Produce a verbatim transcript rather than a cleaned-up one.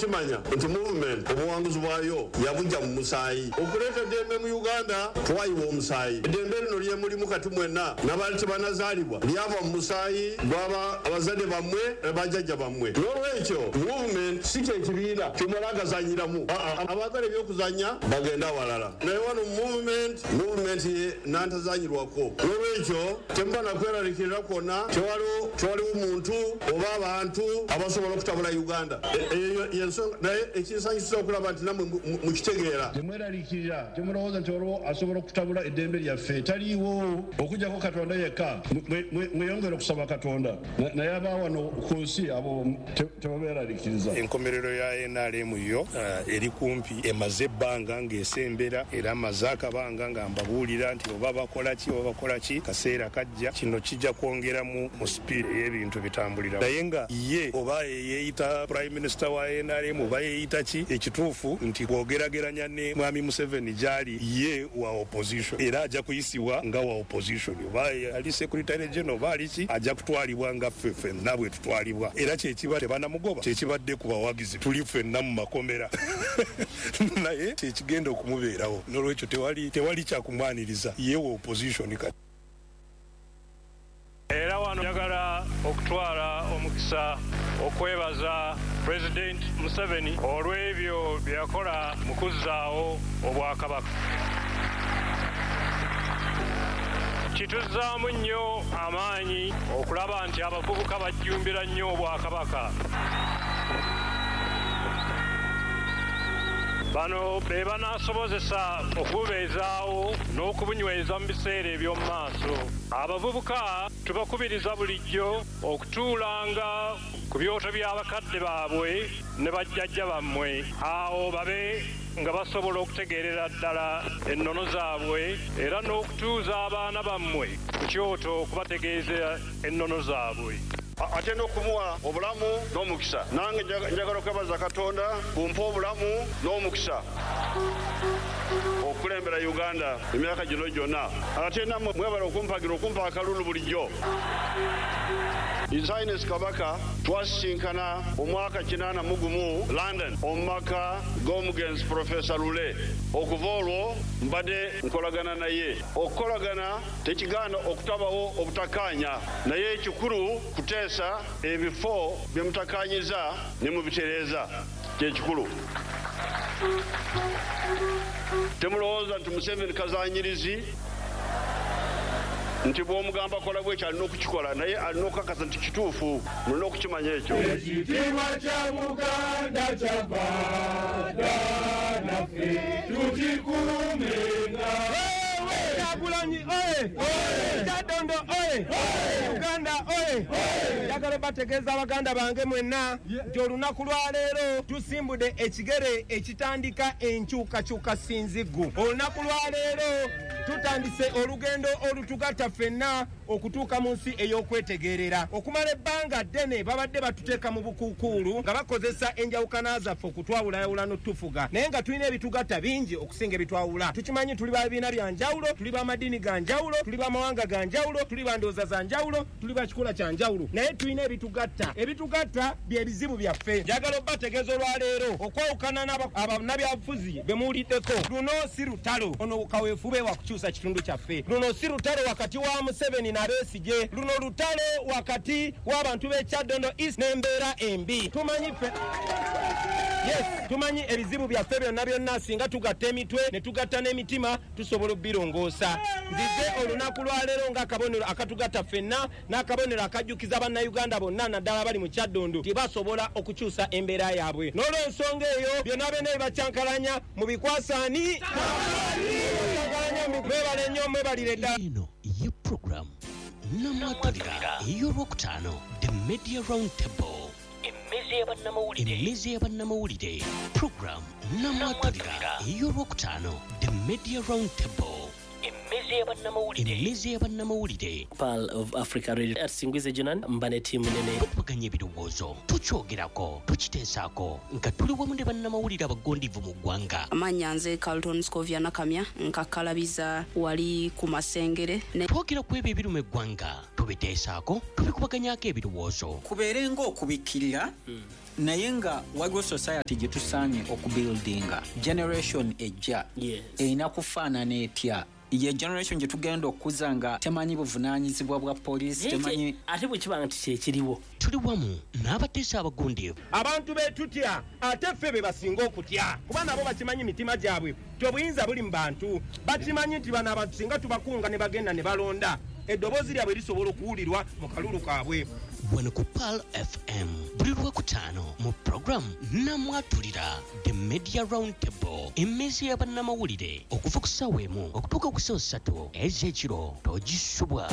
okukimanya nti movement obuwanguzi bwayo yabujja mu musaayi. Okuleeta eddembe mu Uganda twayiwa omusaayi. Eddembe lino lye mulimu kati mwenna n'abaali tebanazaalibwa lyava mu musaayi gw'aba abazadde bammwe ne bajjajja bammwe. N'olwekyo movement si kye kibiina ky'omala agazannyiramu. Abaagala eby'okuzannya bagenda awalala, naye wano movement movement nantazanyirwako. N'olwekyo temuba nakweraliikirira kwonna, tewaliwo muntu oba abantu abasobola okutabula Uganda. Eyo y'ensonga, naye ekinsanyusa okulaba nti nammwe mukitegeera. Temweraliikirira, temulowooza nti waliwo asobola okutabula eddembe lyaffe, taliiwo okuggyako Katonda yekka. Mweyongere okusaba Katonda, naye aba wano ku nsi abo tebabeeraliikiriza. Enkomerero ya N R M yo eri kumpi, emaze ebbanga ng'esembera, era amaze akabanga nga mbabuulira nti oba bakola ki oba bakola ki, kaseera kajja kino kijja kwongeramu mu sipiidi ey'ebintu bitambulira. Naye nga ye oba yeeyita Prime Minister wa N R M oba yeeyita ki, ekituufu nti bw'ogerageranya ne Mwami Museveni gy'ali, ye wa opposition era ajja kuyisibwa nga wa opposition, oba ali Secretary General oba ali ki, ajja kutwalibwa nga ffe ffenna bwe tutwalibwa. Era kyekiba tebanamugoba, kyekibadde ku bawagizi, tuli ffenna mu makomera naye kyekigenda okumubeerawo. N'olwekyo tewali tewali kyakumwaniriza, ye wa opposition kati. Era wano njagala okutwala omukisa okwebaza President Museveni olw'ebyo bye yakola mu kuzzaawo Obwakabaka. Kituzzaamu nnyo amaanyi okulaba nti abavubuka bajjumbira nnyo Obwakabaka. Bano be banaasobozesa okububeezaawo n'okubunyweza mu biseera eby'omu maaso. Abavubuka tubakubiriza bulijjo okutuulanga ku byoto by'abakadde baabwe ne bajjajja bammwe, awo babe nga basobola okutegeerera ddala ennono zaabwe, era n'okutuuza abaana bammwe ku kyoto okubategeeza ennono zaabwe. Ate n'okumuwa obulamu n'omukisa. Nange njagala okwebaza Katonda kumpa obulamu n'omukisa okukulembera Uganda emyaka gino gyonna. Ate nammwe mwebale okumpagira, okumpa akalulu bulijjo. His Highness Kabaka twasisinkana omwaka kinaana mu gumu London omu maka g'omugenzi Professor Lule. Okuva olwo mbadde nkolagana naye. Okukolagana tekigaana okutabawo obutakkaanya, naye ekikulu kuteesa ebifo bye mutakkaanyiza ne mubitereeza, kyekikulu. Temulowooza nti Museveni kazanyirizi, nti bw'omugamba kola bwekyo alina okukikola, naye alina okukakasa nti kituufu, mulina okukimanya ekyo. Ekitiibwa kya Buganda kyava dda naffe tukikuumenga. Kyagulanyi oye! Kyaddondo oye! Uganda oye! Njagala bategeeza abaganda bange mwenna nti olunaku lwa leero tusimbudde ekigere ekitandika enkyukakyuka sinziggu. Olunaku lwa leero tutandise olugendo olutugatta ffenna okutuuka mu nsi ey'okwetegeerera. Okumala ebbanga ddene babadde batuteeka mu bukuukuulu nga bakozesa enjawukana zaffe okutwawulayawula n'otufuga, naye nga tulina ebitugatta bingi okusinga ebitwawula. Tukimanyi tuli ba bibiina bya njawulo, tuli ba madiini ga njawulo, tuli ba mawanga ga njawulo, tuli ba ndowooza za njawulo, tuli ba kikula kya njawulo, naye tulina ebitugatta. Ebitugatta bye bizibu byaffe. Njagala obbategeeza olwaleero okwawukana n'abannabyabufuzi be muwuliddeko, luno si lutalo. Ono kaweefube wa kukyusa kitundu kyaffe. Luno si lutalo wakati wa Museveni na Besigye, luno lutalo wakati w'abantu b'e Kyaddondo East n'embeera embi. Tumanyi ffe Yes, tumanyi ebizibu byaffe byonna byonna, singa tugatta emitwe ne tugatta n'emitima tusobola obbirongoosa. Nzize olunaku lwaleero ng'akabonero akatugatta ffenna n'akabonero akajjukiza Bannayuganda bonna naddala abali mu Kyaddondo nti basobola okukyusa embeera yaabwe. N'olw'ensonga eyo byonna byonna ebibakyankalanya mubikwasaani mwebale nnyo, mwebalire ddala. Eno ye program Namwatulira ey'olwokutaano, The Media Round Table, emmeza y'abannamawulire. Program Namwatulira ey'olwokutaano, The Media Round Table, emmeza y'abannamawulire. Pearl of Africa Radio Singwize Jonan mbane tiimu nene. Tukubaganya ebirowoozo, tukyogerako, tukiteesaako nga tuli wamu ne bannamawulire abagondivu mu ggwanga. Amannya nze Carlton Scovia Nakamya, nkakkalabiza wali ku Masengere. Twogera ku ebyo ebiruma eggwanga. Tubiteesaako, tubikubaganyako ebirowoozo. Kubeere ng'okubikkirira, naye nga waliwo society gye tusaanye okubuildinga. Generation ejja erina kufaanana etya? Ye generation gye tugenda okukuza nga temanyi buvunaanyizibwa bwa poliisi, temanyi. Ate bwe kiba nti kyekiriwo. Tuli wamu n'abateesa abagundiivu. Abantu be tutya ate ffe be basinga okutya, kuba nabo bakimanyi mitima gyabwe nti obuyinza buli mu bantu. Bakimanyi nti bano abantu singa tubakunga ne bagenda ne balonda, eddoboozi lyabwe lisobola okuwulirwa mu kalulu kaabwe. Wano ku Pearl F M buli Lwakutaano mu program Namwatulira, The Media Round Table, emmeeza y'abannamawulire okuva ku ssaawa emu okutuuka ku ssaawa ssatu ez'ekiro. Togisubwa.